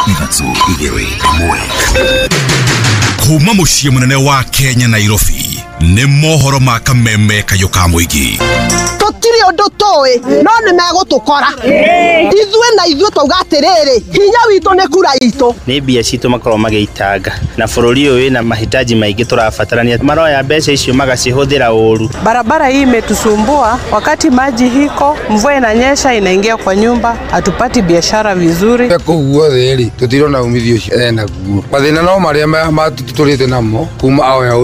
3, 2, 1. Kuma muciĩ mũnene wa Kenya Nairobi nĩ mohoro ma kameme kayũ ka mũingĩ. Tũtirĩ ũndũ tũĩ no nĩ megũtũkora ithuĩ na ithuĩ twauga atĩrĩrĩ, hinya witũ nĩ kura itũ. Nĩ mbia citũ makoragwo magĩitanga na bũrũri ũyũ wĩna mahitaji maingĩ tũrabatarania, maroya mbeca icio magacihũthĩra ũru. Barabara hii imetusumbua, wakati maji hiko, mvua inanyesha inaingia kwa nyumba, hatupati biashara vizuri. Kũu guothe rĩ tũtirona umithio ũcio enaguo, mathĩna no marĩa matũtũrĩte namo kuma aoya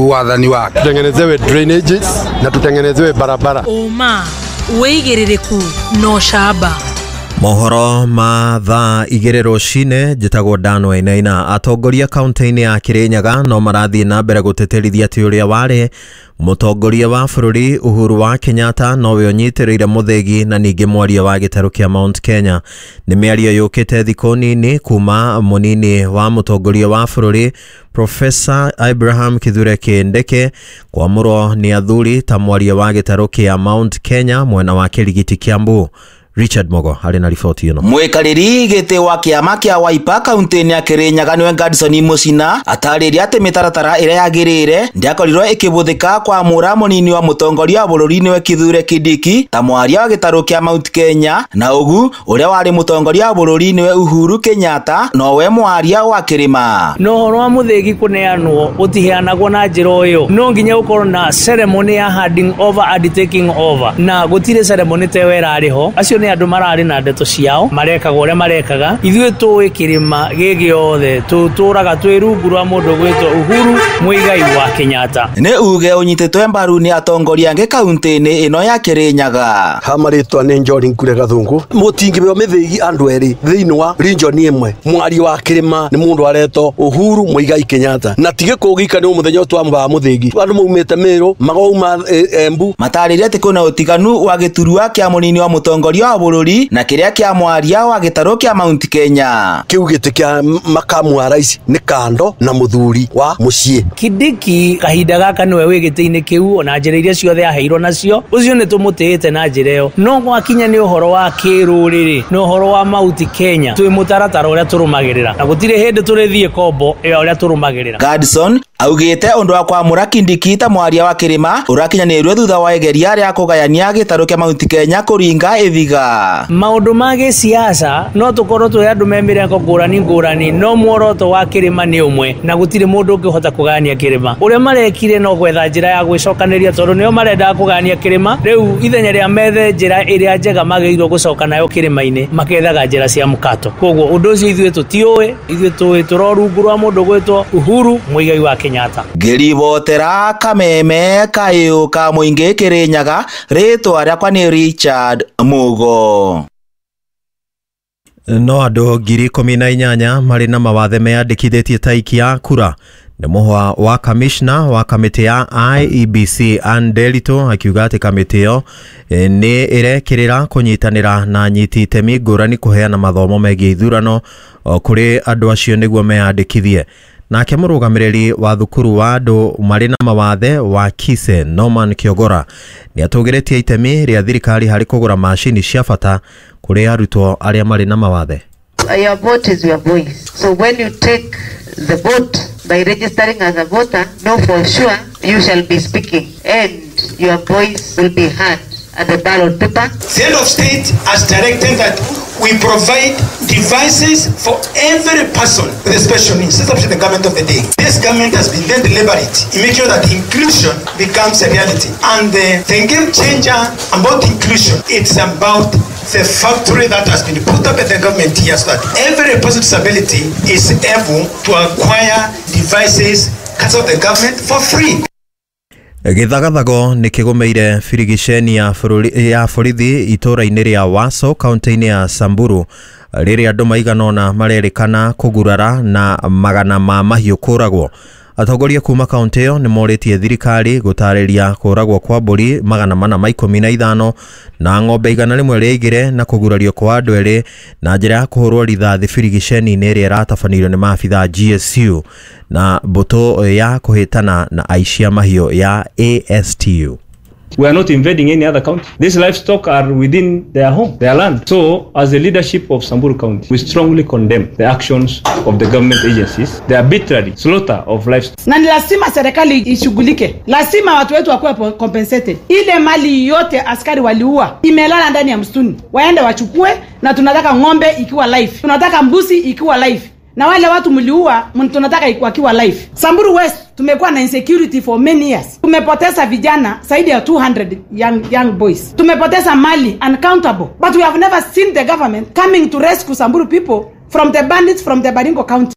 wathani wake. Tutengenezewe drainages na tutengenezewe barabara. Ũma wĩigĩrĩrĩku na ũcamba. Mohoro ma thaa 2 rũcinĩ, njĩtagwo Dan Wainaina. Atongoria kaunti-inĩ ya Kirinyaga no marathiĩ na mbere gũtĩtĩrithia atĩ ũrĩa warĩ mũtongoria wa bũrũri Uhuru wa Kenyatta nowe ũnyitĩrĩire mũthĩgi na ningĩ mwaria wa gĩtarũ kĩa Mount Kenya. Nĩ mĩario yũkĩte thikũ nini kuma mũnini wa mũtongoria wa bũrũri Professor Abraham Kithure Kindiki kwamũrwo nĩ athuri ta mwaria wa gĩtarũ kĩa Mount Kenya mwena wa Kĩrigiti Kiambu. Richard Mogo arĩ na riboti ĩno. Mwikarĩri gĩtĩ wa kĩama kĩa Wiper kaunti-inĩ ya Kirinyaga nĩwe Gadson Musina atarĩria atĩ mĩtaratara ĩrĩa yagĩrĩire ndĩakorirwo ĩkĩbũthĩka kwamũra mũnini wa mũtongoria wa bũrũri nĩwe Kithure Kindiki ta mwaria wa gĩtarũ kĩa Mount Kenya, na ũgu ũrĩa warĩ mũtongoria wa bũrũri nĩwe Uhuru Kenyatta nowe mwaria wa kĩrĩma. No ũhoro wa mũthĩgi kũneanwo ũtiheanagwo na njĩra ũyũ, no nginya gũkorwo na ceremony ya handing over and taking over, na gũtirĩ ceremony ta ĩyo ĩrarĩ ho. Acio nĩ andũ mararĩ na ndeto ciao, marekaga ũrĩa marekaga. Ithuĩ tũĩ kĩrĩma gĩ gĩothe tũtũraga twĩ rungu rwa mũndũ gwĩtwo Uhuru Muigai wa Kenyatta. Nĩ uge ũnyitĩtwe mbaru nĩ atongoria angĩ kaunti-inĩ ĩno ya Kirinyaga. Ha marĩtwa nĩ Njori Nkure Gathungu. Mũtingĩbeo mĩthĩgi andũ erĩ thĩinĩ wa region ĩmwe. Mwaria wa kĩrĩma nĩ mũndũ aretwo Uhuru Muigai Kenyatta, na ti gĩkũ gika nĩ mũthenya twambaga mũthĩgi. Andũ maumĩte Meru magauma Embu. Matarĩria atĩ kwĩna ũtiganu wa gĩturwa kĩa mũnini wa mũtongoria wa bũrũri na kĩrĩa kĩa mwaria wa gĩtarũ kĩa Mount Kenya. Kĩu gĩtĩ kĩa makamu wa rais nĩ kando na mũthuri wa mũciĩ. Kindiki kahinda gaka nĩwe wĩ gĩtĩ-inĩ kĩu, ona njĩra iria ciothe aheirwo nacio, ũcio nĩ tũmũtĩĩte na njĩra ĩyo. No gwakinya nĩ ũhoro wa kĩrũrĩrĩ na ũhoro wa Mount Kenya, twĩ mũtaratara ũrĩa tũrũmagĩrĩra, na gũtirĩ hĩndĩ tũrĩthiĩ kombo ĩyo ũrĩa tũrũmagĩrĩra. Gadson augĩte ũndũ wa kwamũra Kindiki ta mwaria wa kĩrĩma ũrakinyanĩirio thutha wa igeria rĩa kũgayania gĩtarũ kĩa Mount Kenya kũringa ĩthiga. Maũndũ ma gĩsiasa no tũkorwo twĩ andũ me mĩrengo ngũrani ngũrani, no muoroto wa kĩrĩma nĩ ũmwe na gũtirĩ mũndũ ũngĩhota kũgayania kĩrĩma. Ũrĩa marekire no gwetha njĩra ya gwĩcokanĩria, tondũ nĩo marendaga kũgayania kĩrĩma. Rĩu ithenya rĩa methe njĩra ĩrĩa njega magĩrĩirwo gũcoka nayo kĩrĩma-inĩ, makethaga njĩra cia mũkato. Koguo ũndũ ũcio ithuĩ tũtiũĩ, ithuĩ tũĩ tũro rungu rwa mũndũ gwĩtwo Uhuru Muigai wa Kenyatta. Ngĩribotera kameme kayũ ka mũingĩ Kirinyaga, rĩtwa rĩakwa nĩ Richard Mugo. No andũ 18,000 marĩ na mawathe meyandĩkithĩtie ta aikia a kura. Nĩ mũhwa wa kamishna wa kamĩtĩ ya IEBC Ann Nderitu akiuga atĩ kamĩtĩ ĩyo nĩ ĩrekĩrĩra kũnyitanĩra na anyiti itemi ngũrani kũheana mathomo megiĩ ithurano kũrĩ andũ acio nĩguo meyandĩkithie. Nake mũrũgamĩrĩri wa thukuru wa andũ marĩ na mawathe wa Kise Norman Kiogora nĩ atũgĩrĩtie itemi rĩa thirikari harĩ kũgũra macini cia bata kũrĩ arutwo arĩa marĩ na mawathe. Your vote is your voice. So when you take the vote by registering as a voter, know for sure you shall be speaking and your voice will be heard at the ballot paper. The head of state has directed that we provide devices for every person with a special needs, especially the government of the day. This government has been then deliberate in making sure that inclusion becomes a reality. And the game changer about inclusion, it's about the factory that has been put up at the government here so that every person with disability is able to acquire devices out of the government for free. Gĩthagathago nĩ kĩgũmĩire birigiceni ya borithi itũũra-inĩ rĩa Waso kaunti-inĩ ya Samburu rĩrĩa andũ maigana ũna marerĩkana kũgurara na magana ma mahiũ kũragwo. Atongoria kuma kaunti ĩyo nĩ morĩtie thirikari gũtarĩria kũragwo kwa mbũri 415 na ng'ombe 102 na kũgurario kwa andũ erĩ na njĩra ya kũhũrwo rithathi birigiceni-inĩ ĩrĩa ĩratabanĩirio nĩ maabitha GSU na mbũtũ ya kũhĩtana na aici a mahiũ ya ASTU. We are not invading any other county. These livestock are within their home, their land. So, as the leadership of Samburu County, we strongly condemn the actions of the government agencies, the arbitrary slaughter of livestock. Na ni lazima serikali ishughulike, lazima watu wetu wakuwe compensated. Ile mali yote askari waliua imelala ndani ya msituni, waende wachukue, na tunataka ng'ombe ikiwa live, tunataka mbuzi ikiwa live, na wale watu mliua tunataka wakiwa live. Samburu West tumekuwa na insecurity for many years. Tumepoteza vijana zaidi ya 200 young boys. Tumepoteza mali uncountable. But we have never seen the government coming to rescue Samburu people from the bandits from the Baringo County.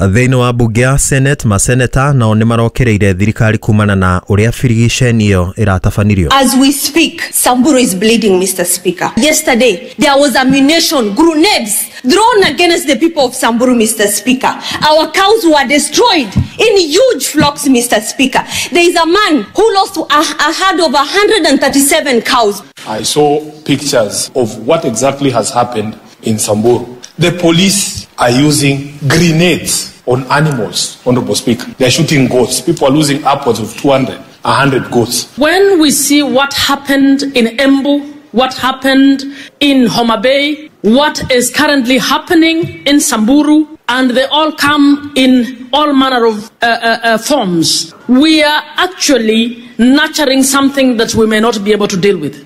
Thĩinĩ wa mbunge ya Senate, maseneta nao nĩ marokereire thirikari kumana na ũrĩa birigiceni ĩyo ĩratabanirio. As we speak, Samburu is bleeding, Mr. Speaker. Yesterday, there was ammunition, grenades thrown against the people of Samburu, Mr. Speaker. Our cows were destroyed in huge flocks, Mr. Speaker. There is a man who lost a herd of 137 cows. I saw pictures of what exactly has happened in Samburu. The police are using grenades on animals, Honorable Speaker. They are shooting goats. People are losing upwards of 200, 100 goats. When we see what happened in Embu, what happened in Homa Bay, what is currently happening in Samburu, and they all come in all manner of forms, we are actually nurturing something that we may not be able to deal with.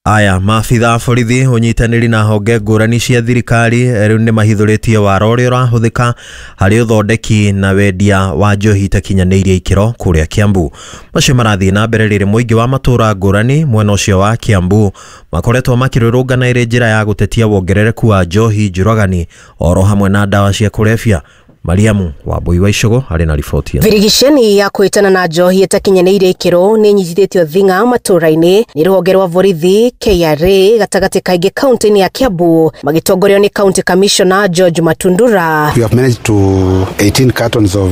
Aya, maabitha a borithi ũnyitanĩri na honge ngũrani cia thirikari rĩu nĩ mahithũrĩtie wara ũrĩa ũrahũthĩka harĩ ũthondeki na wendia wa njohi itakinyanĩirie ikĩro kũrĩa Kiambu. Macio marathiĩ na mbere rĩrĩ mũingĩ wa matũũra ngũrani mwena ũcio wa Kiambu makoretwo makĩrũrũngana ĩrĩ njĩra ya gũtetia wongerereku wa njohi njũragani oro hamwe na ndawa cia kũrebia. Mariamu Wambui wa Icogo arĩ na riboti. Birigiceni ya kwĩtana na njohi ĩtakinyanĩirie ikĩro nĩ ĩnyitithĩtio thing'a matũũra-inĩ nĩ rũhonge rwa borithi KRA gatagatĩ kaingĩ kaunti-inĩ ya Kiambu magĩtongorio nĩ County Commissioner George Matundura. We have managed to 18 cartons of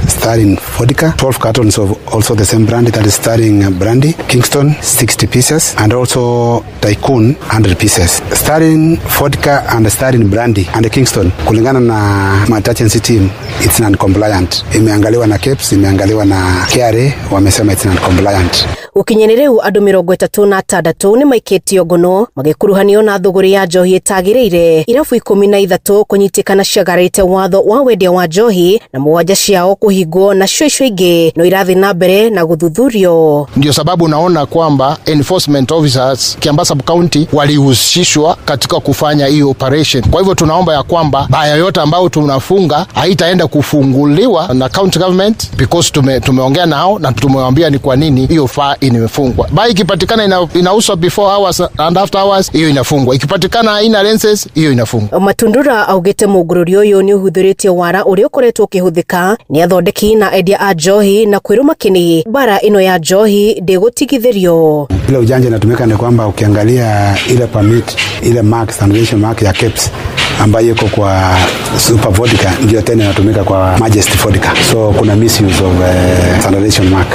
Starring vodka, 12 cartons of also the same brand, that is Starring brandy, Kingston 60 pieces and also Tycoon 100 pieces. Starring vodka and Starring brandy and Kingston kulingana na intelligence team, it's non-compliant. Imeangaliwa na KEPS, imeangaliwa na KRA, wamesema it's non-compliant. Gũkinyĩria rĩu andũ 36 nĩ maikĩtio ngono magĩkuruhanio na thũgũrĩ ya njohi ĩtagĩrĩire, irabu 13 kũnyitĩkana ciagararĩte watho wa wendia wa njohi na 7 ciao kũhingwo, nacio icio ingĩ no irathiĩ na mbere na gũthuthurio. Ndio sababu naona kwamba enforcement officers Kiambaa Sub County walihusishwa katika kufanya hii operation. Kwa hivyo tunaomba ya kwamba baya yote ambayo tunafunga haitaenda kufunguliwa na county government, because tumeongea nao na tumewaambia ni kwa nini hiyo faa imefungwa. Baa ikipatikana inauzwa before hours and after hours, hiyo inafungwa. Ikipatikana haina lenses, hiyo inafungwa. Matundura augite mũgũrũri ũyũ nĩ ũhũthĩrĩtie wara ũrĩa ũkoretwo ũkĩhũthĩka nĩ athondeki na endia a njohi na kwĩrũma kĩni bara ĩno ya njohi ndĩgũtigithĩrio. Ile ujanja inatumika ni kwamba ukiangalia ile permit, ile mark, standardization mark ya KEPS ambayo iko kwa Super Vodka ndio tena inatumika kwa Majesty Vodka. So kuna misuse of standardization mark,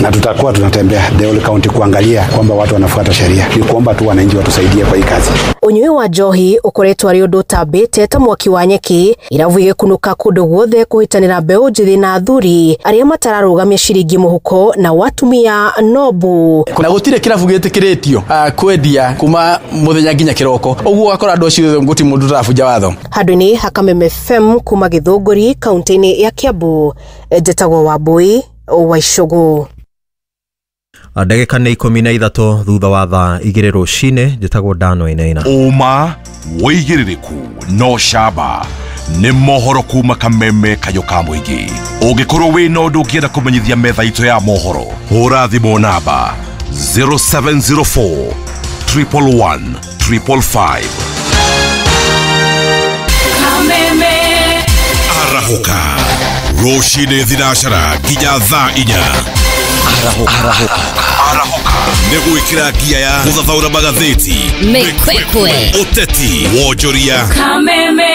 na tutakuwa tunatembea the whole county kuangalia kwamba watu wanafuata sheria. Ni kuomba tu wananchi watusaidie kwa hii kazi. Ũnyui wa njohi ũkoretwo arĩ ũndũ ũtambĩte ta mwaki wa nyeki, irabu igĩkunũka kũndũ guothe kũhĩtanĩra mbeũ njĩthĩ na athuri arĩa matararũgamia ciringi mũhuko na watumia nobu. Na gũtirĩ kĩrabu gĩtĩkĩrĩtio kwendia kuma mũthenya nginya kĩroko, ũguo ũgakora andũ acio gũtirĩ mũndũ ũtarabunja watho. Handũ-inĩ ha Kameme FM kuma Gĩthũngũri kaunti-inĩ ya Kiambu, njĩtagwo Wambui wa Icogo. Ndagĩka nĩ 13 thutha wa thaa 2 rũcinĩ, njĩtagwo Dano Inaina. Ũma wĩigĩrĩrĩku no camba nĩ mohoro kuma Kameme kayũ ka mũingĩ. Ũngĩkorwo wĩna ũndũ ũngĩenda kũmenyithia metha itũ ya mohoro, hũra thimũ namba 0704 111 555. Kameme Arahũka rũcinĩ thinacara nginya thaa 4. Arahũka nĩ gwĩkĩra ngia ya gũthathaũra magathĩti, mĩkwekwe, ũteti, wonjoria. Kameme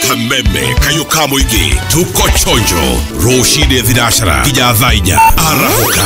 Kameme kayũ ka mũingĩ, tuko chonjo rũcinĩ thinacara nginya thaa 4. Arahũka.